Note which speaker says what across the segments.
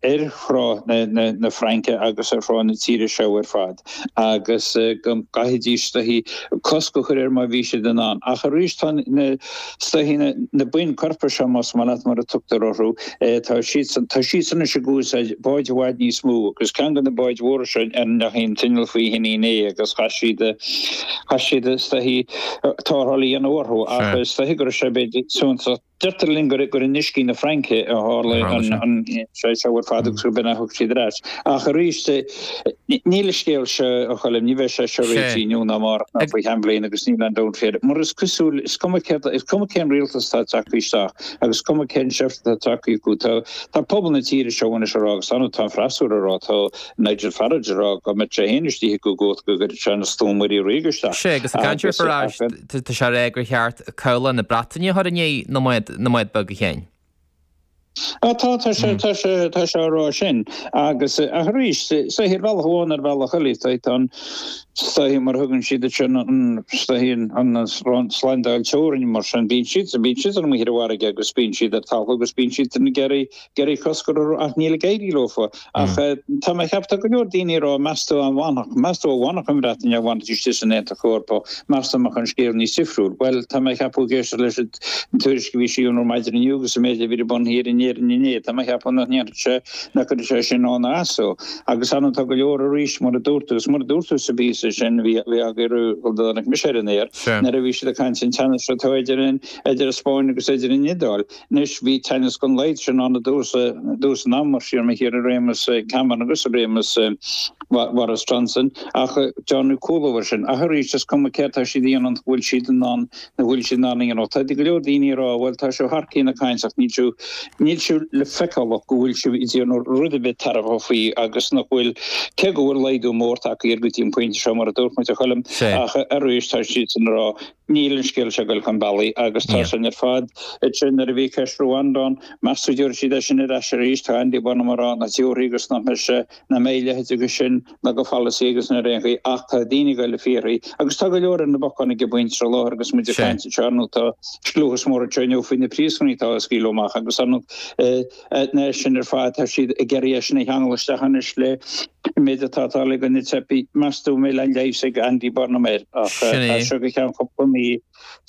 Speaker 1: ar thrá na Fraince agus ar thrá na tíre seo ar fad agus go gcaithfidís is dóichí cosc a chur air má bhí siad in ann. Ach arís tá na is dóichí na buíon coirpeach seo más maith leat mar a tugtar orthu, tá siadsan tá siadsan anois ag úsáid báid i bhfad níos mó agus ceann de na báid mhóra seo a ndeachaigh an t-inneall faoi shin inné agus chaith siad chaith siad is dóichí tarrtháil a dhéanamh orthu ach is dóichí go raibh sé b'fhéidir suntasach Deirtear linn gur in uiscí na Fraince a tharla an sé seo ar fad agus gurb in a thug siad ar ais. Ach arís, níl an scéal seo, a Choilm, ní bheidh sé seo réitithe inniu ná amárach ná faoi cheann bliana agus níl aon dabht faoi. Mar is cosúil, is cuma céard, is cuma cén rialtas atá tagtha isteach agus is cuma cén seift atá tagtha acu, tá tá pobal na tíre seo anois a rá agus tá an freasúra a rá, tá Nigel Farage a rá go mbeadh sé féin istigh i gcumhacht go gcuirfeadh sé an slua muirí ríoga isteach.
Speaker 2: Sea, agus ag caint ar Farage, Tá sé á rá gur cheart cabhlach na Breataine a chur i ndiaidh na mbád beag, a Sheáin.
Speaker 1: Tá, tá sé, tá sé, tá sé á rá sin. Agus, ach arís, is dóichí ar bhealach amháin ar bhealach eile, is dóichí tá an, is dóichí mar a thugann siad air sin, an, is dóichí an, an slándáil teorainn mar sin, bíonn siad, bíonn siad amuigh ar an bhfarraige agus bíonn siad ar talamh agus bíonn siad ag iarraidh, ag iarraidh cosc a chur orthu ach níl ag éirí leofa. Ach tá mé ag ceapadh, tá go leor daoine ag rá, meas tú an bhfanfadh, meas tú an bhfanfadh an Bhreatain dá bhfanfaidís istigh san Aontas Eorpach, meas tú an mbeadh an scéal níos difriúil? Bhuel, tá mé ag ceapadh ag éisteacht leis an tuairisc a bhí sí ar maidin inniu agus an méid a bhí ar bun thiar in Éirinn inné, tá mé ag ceapadh nach ndéanfadh sé, nach gcuirfeadh sé sin ann ná as dó. Agus ar ndóigh tá go leor arís, mar a dúirt tú, agus mar a dúirt tú sa bpíosa sin a bhí, a bhí agaibh roimh go dtáinig mise ar an aer, nuair a bhí siad ag caint an teannas atá idir an, idir an Spáinn agus idir an Iodáil. Anois, bhí teannas den laghad sin ann i dtús, i dtús an ama, siar mo thiar i réimeas Cameron agus i réimeas Boris Johnson, ach déanadh cúlú air sin. Ach arís, is cuma céard tá siad a dhéanamh, nach bhfuil siad in ann, nach bhfuil siad in ann a dhéanamh. Tá go leor daoine ag rá, bhuel, tá sibh thar cionn ag caint ach níl sibh, níl sibh le feiceáil go bhfuil sibh ag déanamh rud ar bith tairbheach faoi agus nach bhfuil, cé go bhfuil laghdú mór tagtha air go dtí an pointe seo, mar a dúirt muid, a Choilm, ach arís, tá siadsan ag rá, Níl an scéal seo ag dul chun bealaigh agus tá sin ar fad. Ansin nuair a bhí ceist Rwanda ann, meas tú dtabharfaidh siad é sin ar ais arís? Tá Andy Burnham ag rá nach dtabharfaidh agus nach mbeidh sé, nach mbeidh a leithéid acu sin ná go pholasaí agus ná ar aon chaoi ach tá daoine ag dul ag fiafraí agus tá go leor ar na bacáin ag an bpointe seo i láthair agus muid ag caint anseo ar ndóigh tá scliúchas mór anseo inniu faoi na príosúnaigh atá á scaoileadh amach agus ar ndóigh na sin ar fad, tá siad ag iarraidh é sin a cheangal isteach anois le an méid atá ag tarlú do na teifigh. Meas tú an mbeidh aon leigheas ag Andy Burnham air? Ach as seo go ceann cúpla mí,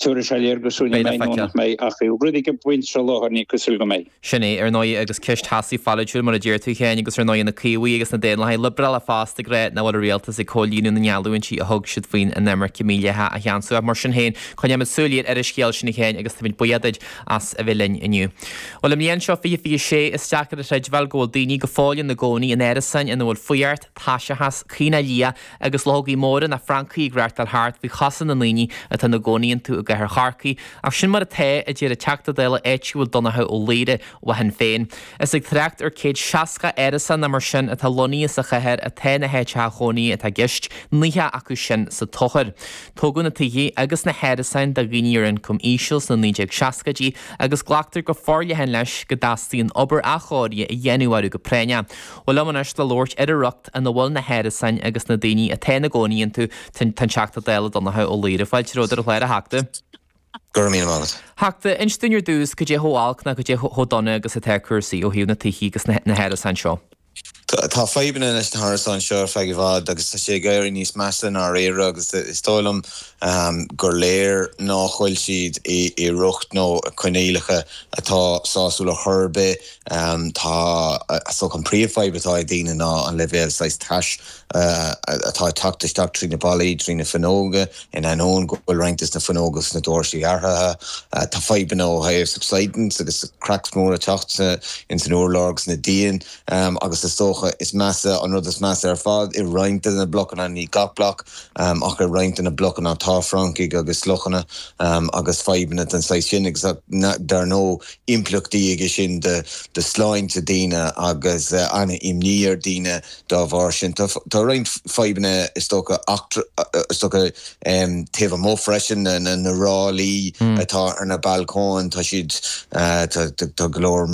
Speaker 1: tabharfaidh sé léargas dúinn an mbeidh nó nach mbeidh. Ach rud ag an bpointe seo i láthair, ní cosúil go mbeidh.
Speaker 2: Sin é, ar ndóigh, agus ceist theasaí pholaitiúil, mar a deir tú féin, agus ar ndóigh na Caomhaigh agus na Daonlathaigh Liobrálacha fosta ag rá nach bhfuil an rialtas ag comhlíonadh na ngeallúintí a thug siad faoin inimirce mhídhleathach a cheansú. Ach mar sin féin, coinneoimid súil ar an scéal sin a Sheáin agus táimid buíoch duit as a bheith linn inniu. Bhuel, i mbliain seo 2026, is deacair a chreidbheáil go bhfuil daoine go fóill ina gcónaí in árasáin ina bhfuil fuireacht, taiseachas, caonach liath agus luchógaí móra ná francaigh ag reachtáil thart faoi chosa na ndaoine atá ina gcónaí iontu i gcathair Chorcaí. Ach sin mar atá, a deir an Teachta Dála áitiúil Donnchadh Ó Laoghaire ó Shinn Féin. Is ag trácht ar 160 árasán nó mar sin atá lonnaithe sa chathair atá na háiteacha chónaithe atá i gceist, 90 acu sin sa Tóchar. Tógadh na tithe agus na hárasáin do dhaoine ar ioncam íseal sna 1960idí agus glactar go forleathan leis go dteastaíonn obair athchóirithe a dhéanamh orthu go práinneach. Bhuel liom anois le labhairt ar an riocht ina bhfuil na hárasáin agus na daoine atá ina gcónaí iontu, tá an Teachta Dála Donnchadh Ó Laoghaire. Fáilte romhat ar an chlár, a Theachta.
Speaker 3: Go raibh míle maith agat.
Speaker 2: Theachta, inis dúinn ar dtús cad é chomh olc nó cad é chomh dona agus atá cúrsaí ó thaobh na tithe agus na hárasáin seo.
Speaker 3: Tá fadhbanna leis na hárasáin seo ar feadh i bhfad agus tá sé ag éirí níos measa i ndáiríre agus is dóigh liom gur léir ná fuil siad i riocht nó coinníollacha atá sásúil ar chor ar bith. Tá, is dócha an príomhfhadhb atá ag daoine ná an leibhéal saghas tais atá ag teacht isteach trí na ballaí, trí na fuinneoga, in ainneoin go bhfuil roinnt des na fuinneoga agus na doirse athraithe. Tá fadhbanna ó thaobh subsidence agus cracks móra ag teacht ins an urlár agus na díon agus is dócha is measa, an rud is measa ar fad, i roinnt de na blocanna, ní gach bloc ach i roinnt de na blocanna tá francaigh agus luchanna agus fadhbanna den saghas sin agus dar ndóigh impleachtaí aige sin do shláinte daoine agus an-imní ar daoine dá bharr sin. Tá roinnt fadhbanna is dócha is dócha taobh amuigh freisin, na ráillí atá ar na balcóin, tá siad, tá go leor,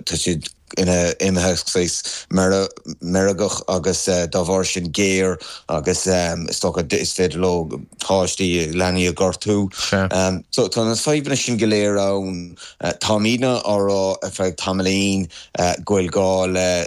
Speaker 3: tá siad ina imithe saghas meirgeach agus dá bharr sin géar agus is dócha is féidir leo páistí, leanaí a ghortú. So tá na fadhbanna sin go léir ann. Táimidne á rá ar feadh tamaillín go bhfuil gá le.